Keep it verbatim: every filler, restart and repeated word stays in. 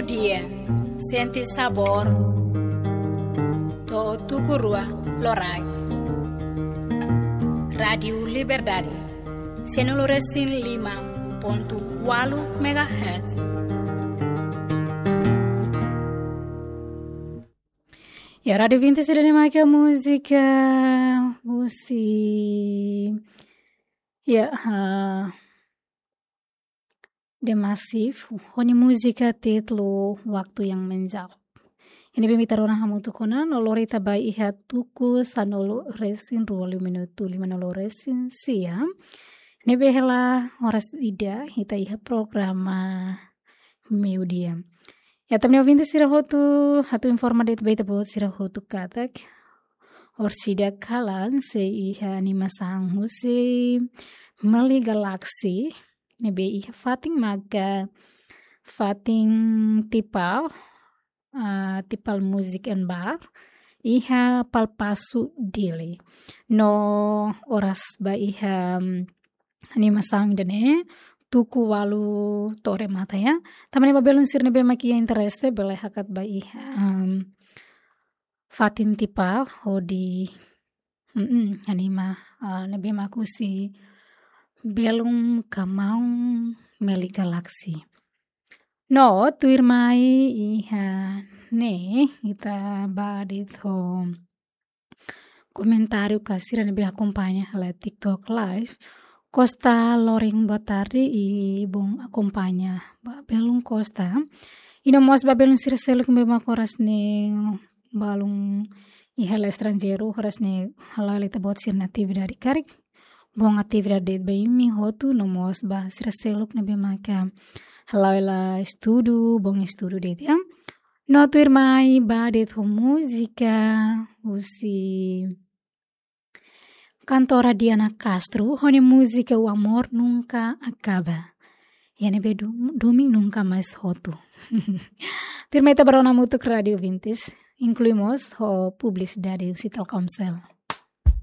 Dia, sente sabór to'o tuku rua loraik. Rádiu Liberdade, sanulu resin lima pontu ualu megahertz. Ya, Rádiu Vinti sira ne'e maka múzika husi, ya, ah, The Massive, ho nia múzika títulu Waktu Yang Menjawab. Iha ne'ebé ita rona hamutuk ona, no lori ita ba iha tuku sanulu resin rua, minutu limanulu resin sia. Ne'ebé hela oras ida, ita iha programa meiudia. Ya, tan ne'e ouvinte sira hotu, atu informa de'it ba ita-boot sira hotu katak orsida kalan sei iha animasaun husi Meli Galaxy, ne'ebé iha fatin maka fatin Tipal, ah, Tipal Music and Bar, iha Palpasu Dili. No oras ba iha, mm, animasaun ida-ne'e, tuku ualu to'o remata ya. Tanba ne'e ba belun sira ne'ebé mak iha interese, bele hakat ba iha, em, fatin Tipal hodi, mm, anima, ah, ne'ebé mak husi belun ka maun Meli Galaxy. No tuirmai iha ne'e ita ba de'it ho komentáriu ka sira ne'ebé akompaña hela TikTok Live. Costa Loring, boa tarde, i bom akompaña ba belun Costa. I no mós ba belun sira seluk ne'ebé mak oras ne'e balun iha hela estranjeiru, oras ne'e hala'o hela ita-boot sira-nia atividade karik. Bom atividade de'it ba imi hotu, no mós ba sira seluk ne'ebé maka hala'o hela estudu, bom estudu de'it ya. No tuirmai ba de'it ho múzika husi kantora Diana Castro, ho nia múzika O Amor Nunca Acaba. Iha ne'ebé du-, domin nunka mais hotu. Tuirmai ita ba rona hamutuk, Rádiu Vinti, inklui mós ho publisidade husi Telkomsel.